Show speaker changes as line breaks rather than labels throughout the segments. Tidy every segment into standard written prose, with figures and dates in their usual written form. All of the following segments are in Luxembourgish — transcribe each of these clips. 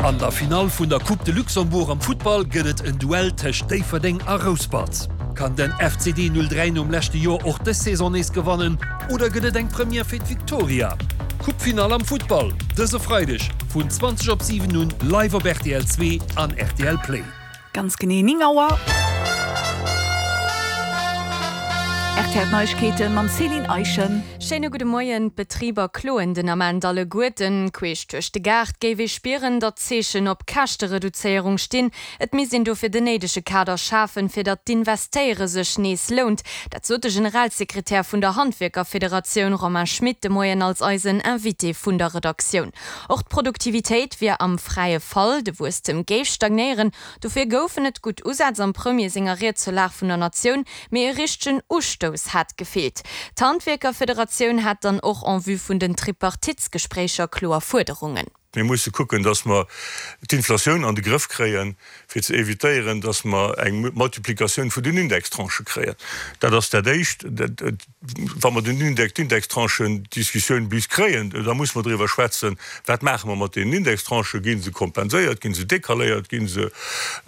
An der Finall vun der Coupe de Luxembourg am Futtball gëtt et en Duell tëscht Déifferdeng a Rouspert. Kann den FCD 03 nom leschte Joer och dës Saison nees gewannen oder gëtt et eng Première fir d'Victoria? Coupe-Finall am Futtball dëse Freideg vun 20 op 7 un live op rtl 2 an rtl Play.
Ganz genee 9 Auer. Rtl Neiegkeeten mam Céline Eischen.
Schéine gudde Moien. D'Betriber kloen den Ament alleguerten. Queesch duerch de Gaart géif ee spieren, datt d'Zeechen op Käschtereduzéierung stinn. Et misst een dofir den néidege Kader schafen, fir datt d'Investéiere sech nees lount. Dat sot de Generalsekretär vun der Handwierkerfederatioun Romain Schmit de Moien als eisen Invité vun der Redaktioun. Och d'Produktivitéit wier am fräie Fall, de Wuesstem géif stagnéieren. Dofir goufen et gutt Usätz am Premier senger Ried zur Lag vun der Natioun, mee e richtegen Ustouss hätt gefeelt. D'Handwierkerfederatioun hätt dann och en vue vun den Tripartitesgespréicher kloer Fuerderungen.
Mir musse kucken, dass mer d'Inflatioun an de Grëff kréien, fir ze évitéieren, dass mer eng Multiplikatioun vun den Indextranchë kréien. Dat ass dat Éischt. Wa mer den Index, d'Indextranchen-Diskussioun bis kréien, da musse mer driwwer schwätzen, Wat maache mer mat deenen Indextranchen? Gi se kompenséiert? Gi se decaléiert? Gi se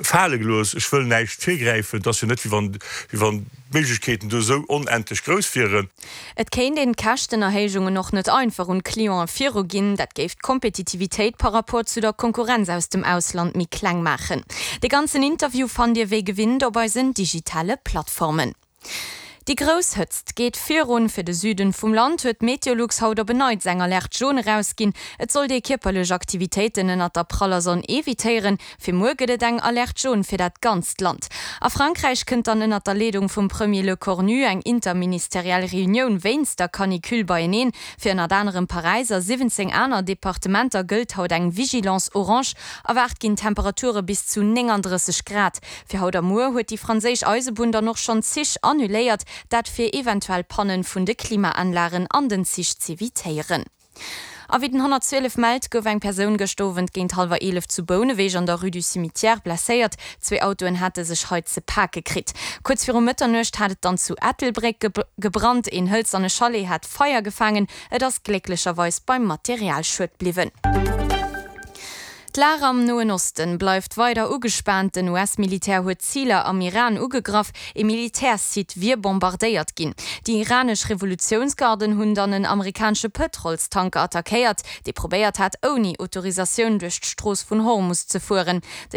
fale gelooss? Ech wëll näischt virgräifen. Et ass jo net, wéi wann, wéi wann d'Méiglechkeeten do esou onendlech grouss wieren.
Et kéint een d'Käschtenerhéijungen och net einfach un d'Clienten viruginn. Dat géif d'Kompetitivitéit par rapport zu der Konkurrenz aus dem Ausland méi kleng maachen. De ganzen Interview fannt Dir wéi gewinnt op eisen digitale Plattformen. Déi grouss Hëtzt geet virun. Fir de Süden vum Land huet Meteolux haut op en Neits eng Alerte jaune erausginn. Et sollt ee kierperlech Aktivitéiten ënnert der praller Sonn evitéieren. Fir muer gëtt et eng Alerte jaune fir dat ganzt Land. A Frankräich kënnt dann ënnert der Leedung vum Premier Lecornu eng interministeriell Reunioun wéinst der Canicule beieneen. Fir ënnert anerem Paräis a 17 aner Departementer gëllt haut eng Vigilance orange. Erwaart ginn Temperature bis zu 39 Grad. Fir haut a muer huet déi franséisch Eisebunn dann och schonn Zich annuléiert, dat fir eventuell Pannen vun de Klimaanlagen an den Zich z'evitéieren. A wéi den 112 mellt, gouf eng Persoun gëscht Owend géint hallwer 11 zu Bouneweg an der Rue du Cimetière blesséiert. Zwee Autoen hate sech hei ze pake kritt. Kuerz viru Mëtternuecht hat et dann zu Ettelbréck gebrannt. Een hëlzerne Chalet hat Feier gefaangen. Et ass glécklecherweis beim Materialschued bliwwen. D'Lag am Noen Osten bleift weider ugespaant. Den US-Militär huet Ziler am Iran ugegraff, ee Militärssite wier bombardéiert ginn. Déi iranesch Revolutiounsgarden hunn dann en amerikanesche Pëtrolstanker attackéiert, dee probéiert hat, ouni Autorisatioun duerch d'Strooss vun Hormus ze fueren.